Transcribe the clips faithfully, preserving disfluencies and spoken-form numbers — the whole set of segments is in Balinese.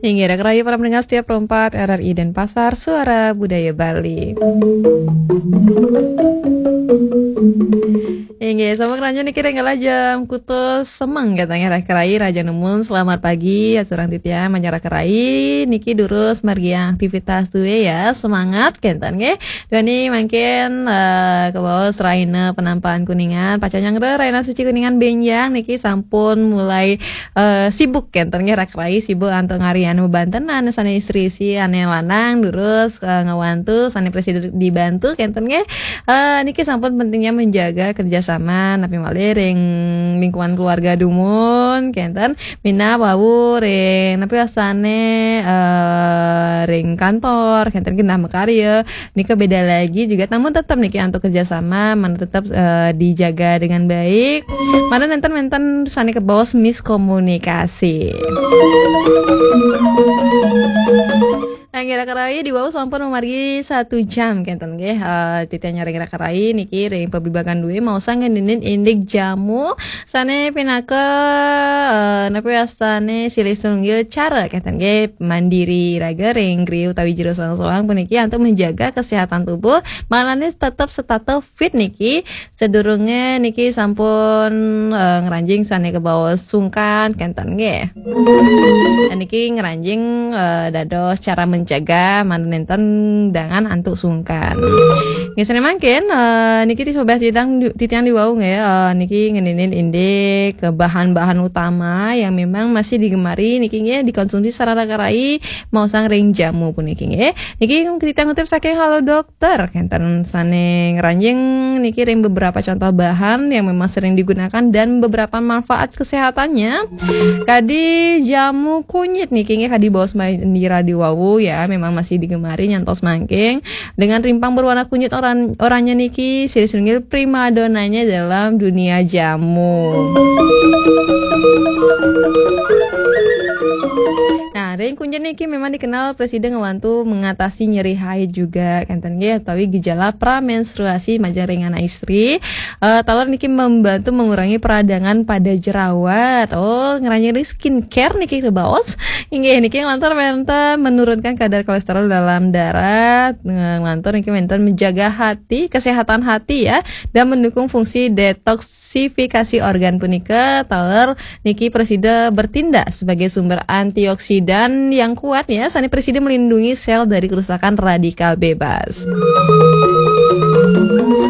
Inggih, raka rahayu para pendengar setia Pro empat R R I Denpasar, Suara Budaya Bali. Inggih, sampun ngranjing niki ring kala jam kutus semeng, katanya raka rahayu, rahajeng nemun, selamat pagi, aturang titiang, manjak raka rahayu, niki durus margiang aktivitas duwe ya, semangat, kenten nggih. Duaning mangkin, eh, kabaos rahina penampakan Kuningan, pacang nyanggra rahina suci Kuningan benjang niki sampun mulai, eh, sibuk kenten nggih, raka rahayu sibuk antuk ngarian bebantenan sane istri si ane lanang durus, eh, ngawantu sane prasida dibantu kenten nggih. Eh, niki sampun pentingnya menjaga kerjasama napi malih ring lingkungan keluarga dumun kenten, minab wau ring napi wastane, eh, ring kantor kenten, genah makarya, nika beda lagi juga, namun tetap niki antuk kerjasama mangda tetap, eh, dijaga dengan baik. Mangda nenten, nenten sane kabaos miskomunikasi. Inggih, raka rahayu, diwau sampun mamargi satu jam kenten nggih. Eh, titiang ring raka rahayu niki ring pablibagan duwe maosang ngeninin indik jamu sane pinaka, eh, napi wastane silih sinunggil cara kenten nggih, mandiri raga ring griya utawi jero soang-soang puniki antuk menjaga kesehatan tubuh, malane tetep setata fit niki, sadurunge niki sampun, eh, ngranjing sane kabaos sungkan kenten nggih. Dan niki ngranjing, eh, dados cara mencegah mangda nenten dangan antuk sungkan. Nggih, sane mangkin, eh, niki ti sobat titiang, titiang diwau nggih, eh, niki ngeninin indik ke bahan-bahan utama yang memang masih digemari niki nggih dikonsumsi sareng raka rahayu maosang ring jamu puniki nggih. Niki titiang ngutip saking Halodoc ter kenten sane ngranjing niki ring beberapa contoh bahan yang memang sering digunakan dan beberapa manfaat kesehatannya. Kadi jamu kunyit niki nggih kadi baos Mbak Indira diwau ya, memang masih digemari nyantos mangkin. Dengan rimpang berwarna kunyit oran-, oranye niki silih sinunggil primadonanya dalam dunia jamu. Nah, ring kunyit niki memang dikenal prasida ngawantu mengatasi nyeri haid juga, kenten nggih, utawi gejala pramenstruasi majeng ring anak istri. Eh, taler niki membantu mengurangi peradangan pada jerawat. Oh, ngranjing skincare niki kabaos. Inggih, niki nglantur wenten menurunkan kadar kolesterol dalam darah, nglantur niki wenten menjaga hati, kesehatan hati ya, dan mendukung fungsi detoksifikasi organ punika. Taler niki prasida bertindak sebagai sumber antioksidan yang kuat ya, sane prasida melindungi sel dari kerusakan radikal bebas.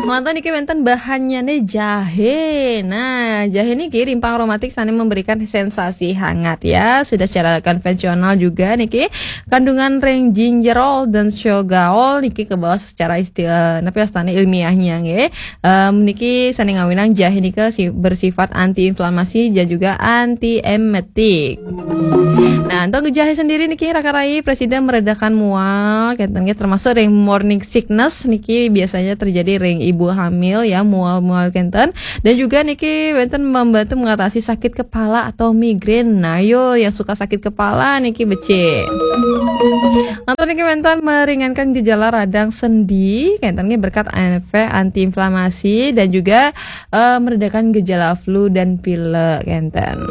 Wonten niki wenten bahannyane jahe. Nah, jahe niki rimpang aromatik sane memberikan sensasi hangat ya. Sudah secara konvensional juga niki kandungan ring gingerol dan shogaol niki kabaos secara istilah, napi wastane ilmiahnya nggih. Em, niki sane ngawinang jahe nika si-, bersifat antiinflamasi dan juga antiemetik. Nah, untuk jahe sendiri niki raka rahayu prasida meredakan mual, kenten nggih, termasuk ring morning sickness niki biasanya terjadi ring ibu hamil ya, mual-mual kenten. Dan juga niki wenten membantu mengatasi sakit kepala atau migrain. Nah, yo yang suka sakit kepala niki becik. Atau niki wenten meringankan gejala radang sendi, kenten nggih, berkat efek antiinflamasi dan juga, eh, meredakan gejala flu dan pilek, kenten.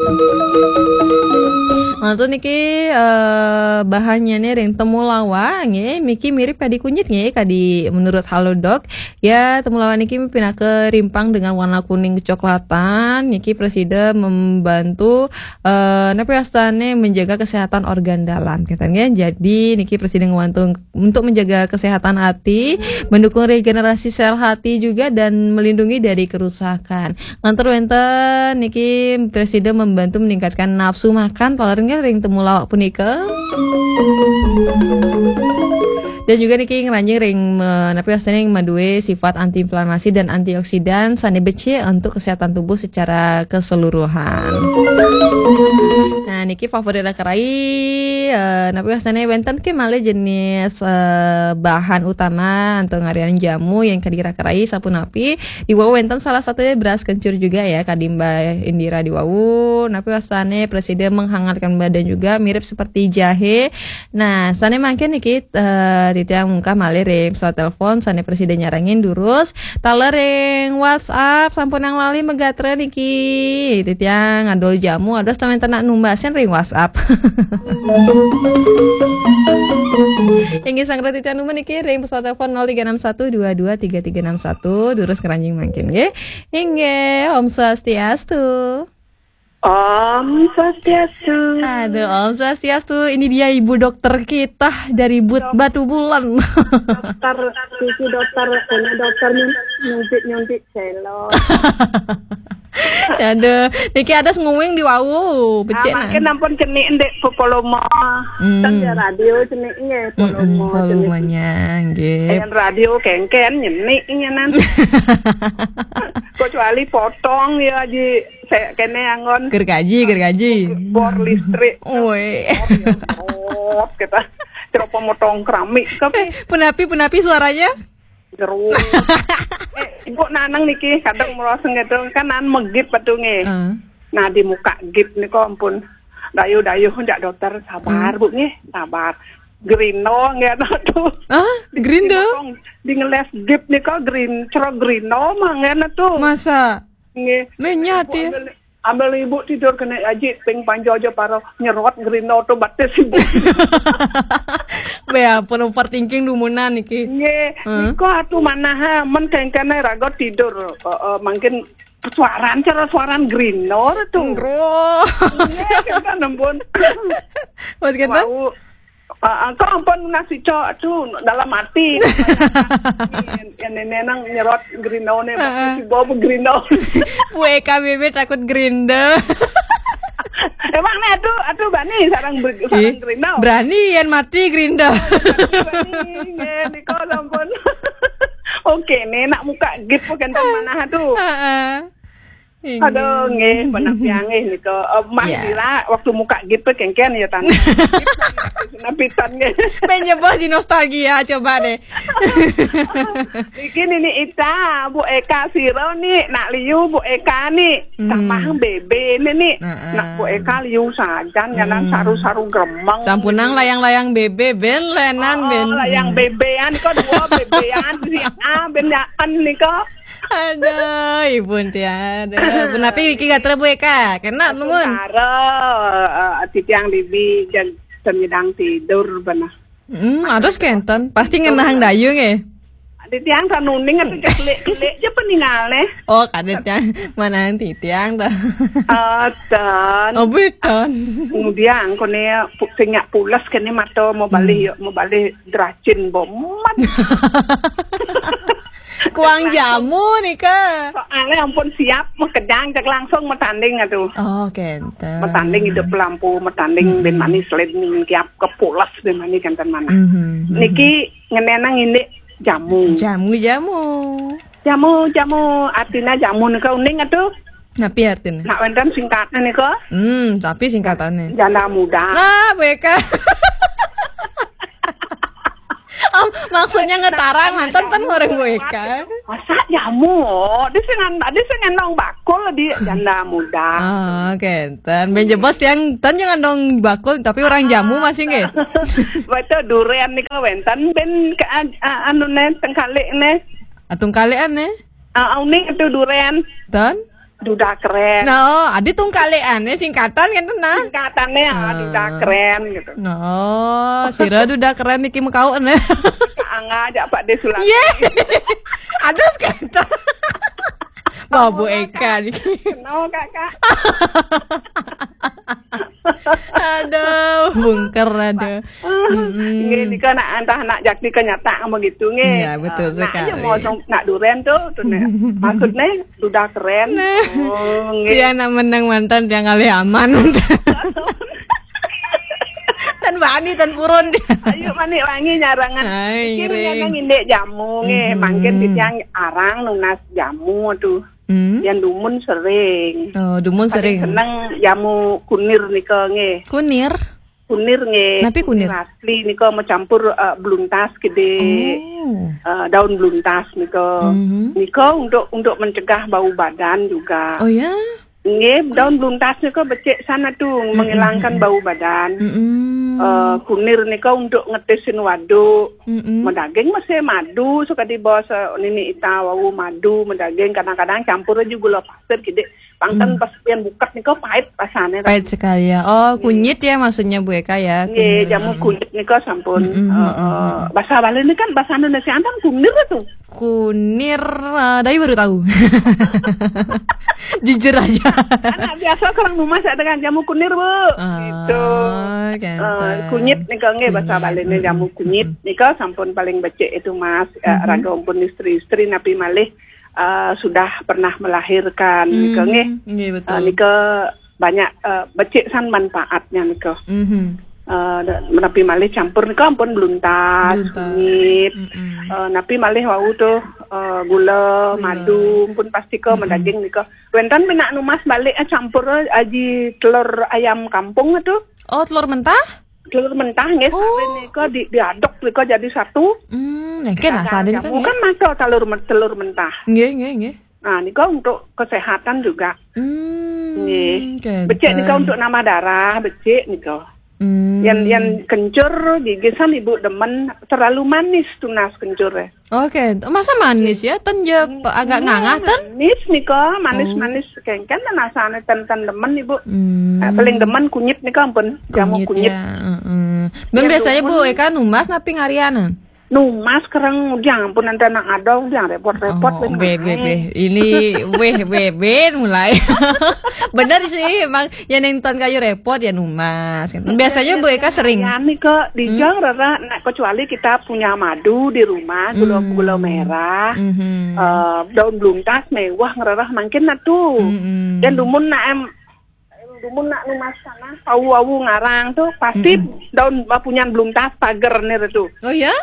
Atau niki, eh, bahannya nih ring temulawak, nggih, niki mirip kadi kunyit, nggih, kadi menurut Halodoc. Ya, temulawak niki pinaka rimpang dengan warna kuning kecoklatan, niki prasida membantu, eh, napi wastane menjaga kesehatan organ dalam, kenten nggih. Jadi niki prasida ngawantu untuk menjaga kesehatan hati, mendukung regenerasi sel hati juga, dan melindungi dari kerusakan. Lantur wenten niki prasida membantu meningkatkan nafsu makan, taler nggih ring temulawak punika. Dan juga niki ngranjing ring me-, napi wastane maduwe sifat antiinflamasi dan antioksidan sane becik untuk kesehatan tubuh secara keseluruhan. Nah, niki favorit raka rahayu, eh, napi wastane wenten ke malih jenis, eh, bahan utama antuk ngarian jamu yang kadi raka rahayu sapunapi. Diwau wenten salah satunya beras kencur juga ya, kadi Mbak Indira diwau. Napi wastane prasida menghangatkan badan juga, mirip seperti jahe. Nah, sane mangkin niki, eh, Titiang mungkah malih ring pesawat telepon sané prasida nyarengin durus. Taler ring WhatsApp sampunang lali magatra niki. Titiang adol jamu, ados tamen tenak numbasin ring WhatsApp. Inggih, sanggra titiang numbas niki ring pesawat telepon nol tiga enam satu dua dua tiga tiga enam satu, durus ngranjing mangkin nggih. Inggih, Om Swastiastu. Om Swastiastu. Aduh, Om Swastiastu. Ini dia ibu dokter kita dari But Batu Bulan. Dokter, cucu dokter, ini dokter nyun-, nyuntik-nyuntik celok. Aduh, niki ada nguing di wau, becik, ah, mangkin ampun cenik ndik pepoloma. Hmm. Ten ya radio cenik nggih, mm-mm, poloma cenik. Polomanya, nggih. Yang radio kengken nyenik ngenan. Kecuali potong ya, Ji. Saya kene anggon. Gergaji, gergaji. Bor listrik. Woi. Oh, ya, oh, kita. Ceropo motong keramik. Tapi eh, punapi, punapi suaranya? Jeruk. Eh, ibu nanang niki, kadang meroseng gitu. Kan an megip petunge. Heeh. Nah, di muka gip nika ampun. Dayu-dayu, jak dokter, sabar, hmm, Bu, nggih, sabar. Gerino, nggih, anu tuh. Ah, di, gerindo? Di, di ngeles gip nika, gerin-, cero gerino, mah, nggih, anu tuh. Masa? Nggih. Menyat, ya? Ambil, ambil ibu tidur kena aji, ping panjo aja paro nyerot gerino tuh batis ibu. Be, ampun, overthinking dumunan niki. Nggih, hmm, nika atuh manah, men kengkene raga tidur. Eh, eh, mangkin suaran, cara suaran gerino tuh. Nggih. Nggih, kenten ampun. Mas kenten? Wau, ah, ah, kok ampun nasi cok tuh dalam hati. Yang nenek nang nyerot gerino ne, heeh, si bawa gerino. Bu Eka Bebe takut gerindo. Emang nih, aduh, aduh, bani sarang ber-, sarang ih, gerino. Berani yang mati gerindo. Berani, nggih, nika ampun. Oke, nih, nak muka gip kenten manah tuh. Heeh. Inggih. Aduh, nggih, penampilan nggih nika. Eh, Mas, iya, Dira, waktu muka gip kengken ya, tan. Napitan nggih. Pengen nyebos di nostalgia, coba deh. Iki Nini Ita, Bu Eka Siro ni, nak liu Bu Eka ni. Hmm. Samah bebe ni ni. Heeh. Nak Bu Eka liu sajan, nyanan, hmm, saru-saru gremeng. Sampunang layang-layang bebe, ben lenan, oh, ben. Layang, hmm, bebean, kok dua bebean, si A, ben yaen nika. Aduh, ibu enti, aduh. Punapi niki gatra Bu Eka? Kena nuwun. Sementara, eh, titiang bibi jag semidang tidur beneh. Hmm, aduh, kenten. Pasti ngenahang dayung, eh. Titiang sanuning atau kelik-kelik aja peningalne. Oh, kada tiang manahang titiang dah. Eh, dan oh, beton. Kemudian kone pu-, sing nyak pules kene mata mau balih, hmm, ya, mau balih derajin bomat. Kuang jamu nika. Soalnya ampun siap, mau kedang, cek langsung mau tanding atuh. Oh, kenten. Mau tanding hidup lampu, mau tanding, hmm, ben manis, led ning kiap kepulas ben manis kenten manah. Mhm, mhm. Niki ngenenang ini jamu. Jamu, jamu. Jamu, jamu, artinya jamu nika uning atuh. Napi artinya? Nak wenten singkatnya nika. Hmm, tapi singkatannya. Janda muda. Nah, Bu Eka. Om, maksudnya ngetarang, nah, mantan kan jamu orang Bu Eka. Masa jamu? Dia sing an-, dia sing ngendong bakul di janda muda. Oh, kenten. Ben jebos tiang, tan jangan dong bakul, tapi orang jamu masih nggih. Betul, duren nika wenten ben ke an-, a-, anu ne, tengkalik ne. Atung kalian ne? Ah, uning itu duren. Tan? Duda keren. No, adi tungkalian ne singkatan kan, nah. Singkatannya, ah, ah, duda keren gitu. No, sira duda keren niki mekau ne. Angga aja Pak Desulaki. Iya. Aduh, sekarang. Wah, Bu Eka niki. Kenal, Kakak. Aduh, bungker, aduh. Mm-mm. Nggih, nika nak antah nak jakti kenyataan begitu nggih. Iya, betul sekali. Nak aja mau song-, nak duren tuh, tuh nih. Maksudnya duda keren. Nah. Oh, nggih. Dia nak menang mantan, dia ngalih aman. Tan bani, tan purun dia. Ayo, manik wangi nyarangan. Ai, iki ngiring. Nyanang indik jamu nggih, mhm, mangkin titiang arang nunas jamu tuh. Hmm. Yang dumun sering. Oh, dumun sering. Paling seneng jamu kunir nika nggih. Kunir? Kunir nggih. Napi kunir? Kunir asli nika mencampur, eh, beluntas gede. Oh. Eh, daun beluntas nika. Mhm. Nika untuk, untuk mencegah bau badan juga. Oh ya? Nggih, daun beluntas nika becik sana tuh, mm-mm, menghilangkan bau badan. Mm-mm. Eh, kunir nika untuk ngetisin waduk. Mm-mm. Medaging masih madu, suka dibawa se-, nini ita wau madu, medaging kadang-kadang campur aja gula pasir kidik. Pangkan pas pian bukat nika pahit rasanya. Pahit sekali ya. Oh, kunyit ya maksudnya Bu Eka ya. Nggih, kunyit. Jamu kunyit nika sampun. Mm-mm, eh, mm-mm, eh, mm-mm. Bahasa Bali ini kan bahasa Indonesia kan kunir tuh. Kunir, eh, dari baru tahu. Jujur aja. Anak biasa kurang rumah saya dengan jamu kunir, Bu. Ah, gitu. Kan, eh, kunyit nika nggih bahasa Bali ini jamu kunyit nika sampun paling becik itu Mas, eh, raga ampun istri-istri napi malih eh, sudah pernah melahirkan nika nggih. Nggih, betul. Eh, nika banyak, eh, becik san manfaatnya nika. Mhm. Eh, da-, menapi malih campur nika ampun beluntas, beluntas, kunyit. Mm-mm. Eh, napi malih wau tuh, eh, gula, gula, madu, pun pasti ke medaging nika. Wenten minak numas balik, eh, campur, eh, aji telur ayam kampung tuh. Oh, telur mentah? Telur mentah nggih, oh, sare nika di, diaduk nika jadi satu. Hmm, nggih, nah, sare nika nggih. Kan maca telur men-, telur mentah. Nggih, nggih, nggih. Nah, nika untuk kesehatan juga. Hmm, nggih. Becik nika untuk nambah darah, becik nika. Hmm. Yang, yang kencur gigisan ibu demen terlalu manis tunas kencur ya. Oke, masa manis ya? Ten je pe-, agak ngangah, ten? Manis nika, manis-manis kengken dan asane ten, ten demen, Ibu. Hmm. Eh, paling demen kunyit nika ampun, jamu kunyit. Kunyit ya, heeh. Ben ya, biasanya Bu Eka numas napi ngarianan? Numas kereng, udah ampun, nanti anak adong, udah repot-repot. Oh, ben be, be, be. Ini, weh, be, ben mulai. Bener sih, emang ya neng ton kayu repot ya numas. Biasanya Bu Eka sering. Ya, nika dijang rara, nak kecuali kita punya madu di rumah, gula, gula merah, eh, daun beluntas mewah ngerarah mangkin na tu. Dan dumun nak em, dumun nak numas tanah, awu-awu ngarang tu, pasti daun, eh, punyan beluntas pager ni tu. Oh ya?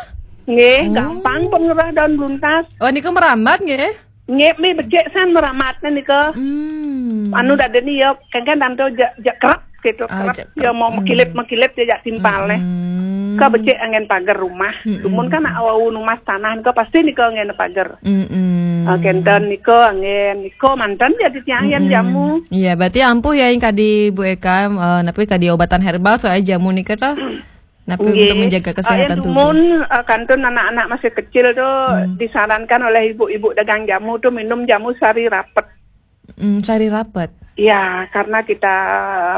Nggih, gampang pun ngerah daun beluntas. Oh, nika merambat nggih? Nggih, mi becik san meramatnya nika. Hmm. Anu dadi ni ya, kan, kan tantu ja, ja kerap gitu, oh, kerap ja ya kerap. Mau mekilit-mekilit ya jak timpal nih. Hmm. Ka becik angin pagar rumah. Hmm. Dumun kan nak awau numas tanah nika pasti nika angin pagar. Hmm. Ah, kenten nika angin, nika mantan jadi tiang yang jamu. Iya, berarti ampuh ya yang kadi Bu Eka, eh, napi kadi obatan herbal soalnya jamu nika toh. Napi untuk menjaga kesehatan tubuh. Dumun, eh, kantun anak-anak masih kecil tu disarankan oleh ibu-ibu dagang jamu tu minum jamu sari rapet. Hmm, sari rapet. Ya, karena kita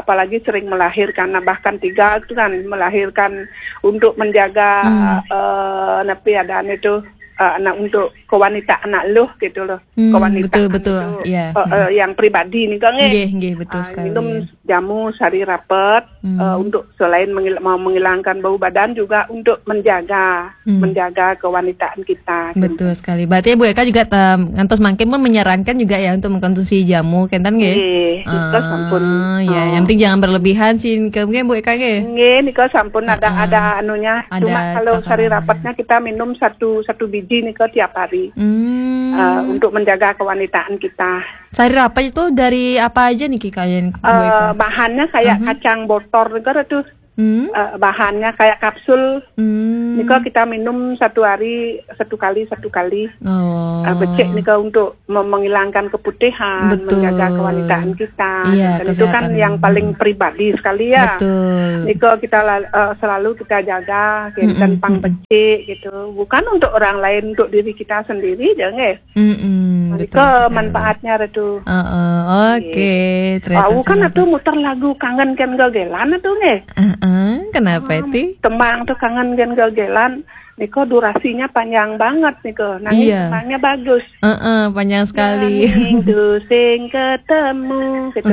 apalagi sering melahirkan, nah, bahkan tiga tu kan melahirkan untuk menjaga, eh, napi adaan itu, eh, anak untuk kewanitaan anak luh gitu loh. Hmm, kewanitaan betul, betul. Itu, iya, eh, eh, yang pribadi ni kan, eh. Nggih, nggih, betul sekali. Minum jamu sari rapet, eh, untuk selain menghil-, mau menghilangkan bau badan juga untuk menjaga, menjaga kewanitaan kita. Betul sekali. Berarti Bu Eka juga tem-, ngantos mangkin pun menyarankan juga ya untuk mengkonsumsi jamu, kenten nggih? Nggih, nika sampun. Ah, ya, yang penting jangan berlebihan sih, mungkin Bu Eka nggih? Nggih, nika sampun ada, ada anunya. Ada takarannya. Cuma kalau sari rapetnya kita minum satu, satu biji nika tiap hari. Hmm. Eh, untuk menjaga kewanitaan kita. Sari rapet itu dari apa aja nih, Ki, kalian, Bu Eka? Eh, bahannya kayak kacang botor nika tuh. Hmm. Eh, bahannya kayak kapsul. Hmm. Nika kita minum satu hari satu kali, satu kali. Oh. Eh, becik nika untuk mem-, menghilangkan keputihan, betul, menjaga kewanitaan kita. Iya, dan itu kan kesehatan yang paling pribadi sekali ya. Betul. Nika kita la-, eh, selalu kita jaga, kenten pang becik gitu. Bukan untuk orang lain, untuk diri kita sendiri, jangan. Mm-mm, betul sekali. Manfaatnya ada tu. Heeh, oke, ternyata. Aku kan atuh muter lagu Kangen Ken Gagelan atuh nggih. Heeh, kenapa itu? Tembang tuh Kangen Ken Gagelan. Niko durasinya panjang banget niko. Nanging tembangnya bagus. Heeh, panjang sekali. Nanging tu sing ketemu gitu.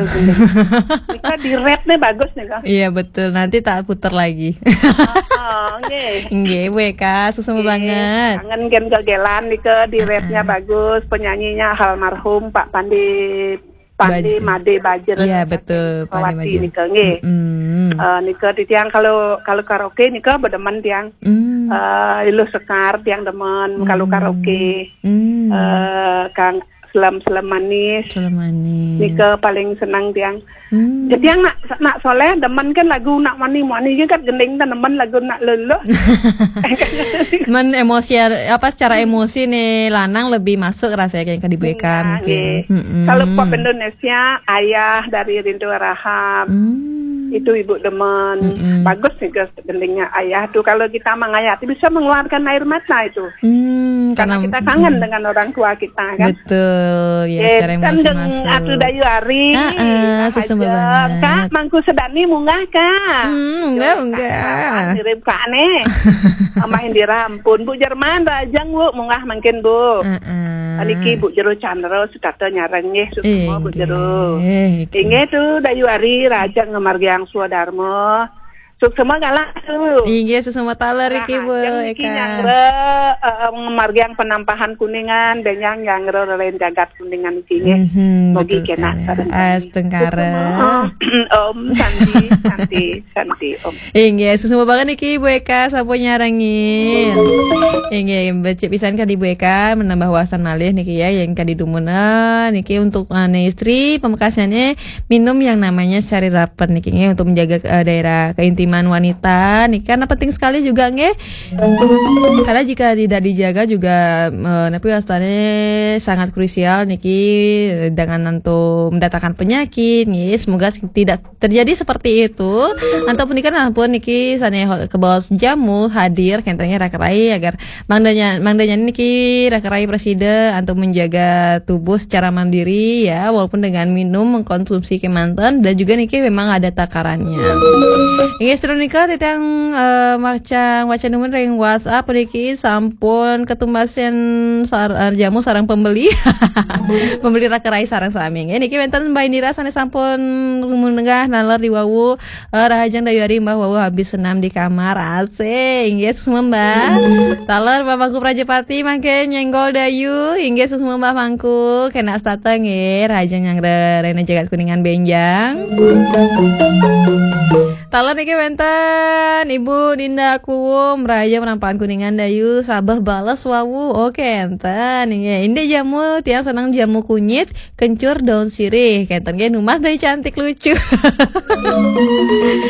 Niko di rap nih bagus niko. Iya, betul. Nanti tak putar lagi. Oh, nggih. Nggih, Bu Eka, sukses banget. Kangen Ken Gagelan niko di rapnya bagus, penyanyinya almarhum Pak Pandi, Pandi Made Bajer. Iya, betul, Pandi Bajer. Niko nggih. Mm-mm. Eh, niko titiang kalau, kalau karaoke niko bedemen tiang. Mm. Eh, Iluh Sekar tiang demen kalau karaoke. Mm. Eh, Kang Selam-selam manis. Selam manis. Niko paling senang tiang. Hmm. Jadi yang nak, nak soleh demen kan lagu nak mani-mani je kan gending tanaman lagu nak lelo. Men emosi apa secara emosi nih lanang lebih masuk rasanya kayak ke di Bu Eka mungkin. Kalau pop Indonesia Ayah dari Rindu Rahab. Hmm. Itu ibu demen. Mm-mm. Bagus juga sebenarnya ayah tuh, kalau kita mengayati bisa mengeluarkan air mata itu. Hmm, Karena kita kangen dengan orang tua kita, kan? Betul, ya, Eh, secara kan emosi deng masuk. Atu Dayu Ari. Heeh, Nah, susah aja. Banget. Kak, Mangku Sedani munggah, Kak. Hmm, munggah, Yo, munggah. Kak, mirip Kak nih. Amah Indira ampun. Bu Jerman, Rajang, Bu, munggah mungkin, Bu. Heeh. Niki Bu Jero Chandra, Sutata nyareng nggih, semua Bu Jero. Inggih, inggih. Inggih tuh, Dayu Ari, Rajang ngemargiang swadarma. Suksma galah tuh. Inggih, suksma taler iki, Bu Rahajeng niki Eka. Nyangre, eh, ngemargiang penampahan Kuningan, benyang Nyangre reren jagat Kuningan iki nggih. Mhm, Mogi betul kena sekali. sareng sami. Astungkara. Om Santi, Santi, Santi, Om. Inggih, suksma banget iki Bu Eka sampun nyarengin. Inggih, becik pisan kadi Bu Eka menambah wawasan malih niki ya, yang kadi dumunan niki untuk ane istri pamekasane minum yang namanya Sari Rapen niki nggih, untuk menjaga eh, daerah keintiman wanita niki karena penting sekali juga nggih. Karena jika tidak dijaga juga eh, napi wastane sangat krusial niki dengan nantu mendatangkan penyakit nggih. Semoga tidak terjadi seperti itu. Antuk punika nah pun niki sane ho- kebaos jamu hadir kentengnya raka rai agar mangdanya mangdanya niki raka rai presida untuk menjaga tubuh secara mandiri ya, walaupun dengan minum mengkonsumsi kemanten dan juga niki memang ada takarannya. Inggih, sedurung nika titiang eh, macang wacan numun ring WhatsApp niki sampun ketumbasan sar, eh, jamu sareng pembeli. Pembeli raka rai sareng sami. Nggih, niki wenten Mbah Indira sane sampun menggah naler di wawu. Eh, Rahajeng Dayu Ari Mbah wawu habis senam di kamar. Asik. Inggih, suksma Mbah. Taler Mbah Mangku Prajapati mangke nyenggol Dayu. Inggih, suksma Mbah Mangku. Kena stata nggih. Rahajeng Nyangre rena jagat Kuningan benjang. Taler niki wenten Ibu Dinda Kuwum, Rahajeng penampahan Kuningan Dayu, sabeh bales wawu. Oke, enten. Inggih, indik jamu, tiang seneng jamu kunyit, kencur daun sirih. Kenten nggih, numas Dayu cantik lucu.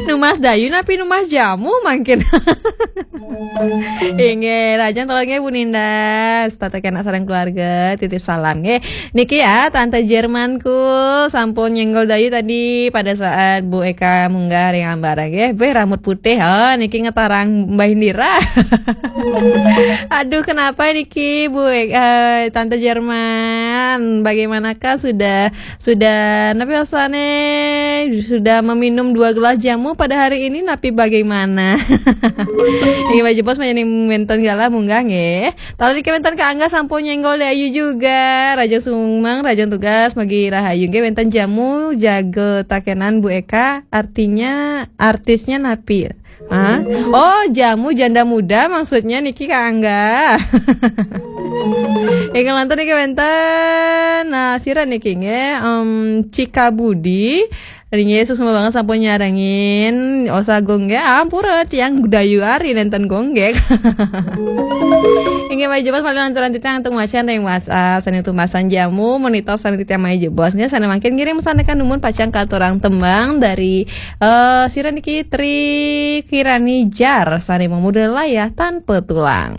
Numas Dayu napi numas jamu mangkin. Inggih, Rahajeng taler nggih Bu Dinda, setata kena sareng keluarga, titip salam nggih. Niki ya, Tante Jermanku sampun nyenggol Dayu tadi pada saat Bu Eka munggah ring ambara nggih. Beh, rambut putih. Oh, niki ngetarang Mbah Indira. Aduh, kenapa niki Bu Eka, eh, Tante Jerman? Bagaimanakah sudah sudah napi rasane sudah meminum dua gelas jamu pada hari ini napi bagaimana? Inggih, Mbah Jebos menjadi wenten galah munggah nggih. Taler niki wenten Kak Angga sampun nyenggol Dayu juga. Rahajeng sumeng, rahajeng tugas, mugi rahayu nggih. Wenten jamu jaga takenan Bu Eka, artinya artisnya napi? Hah? Oh, jamu janda muda maksudnya niki Kak Angga. Inggih lantur niki wenten nah sira niki nggih em Cika Budi. Ring Yesus banget sampun nyarengin. Osa gonggek ampura tiang Dayu Ari nenten gonggek. Inggih, Mbah Jebos paling lanturan titiang untuk macan ring WhatsApp sane tumbasan jamu monitor sane titiang Mbah Jebos nggih sane mangkin ngirim sane kan numun pacang katurang tembang dari eh sira niki Tri Kirani Jar sane memuda layah tanpa tulang.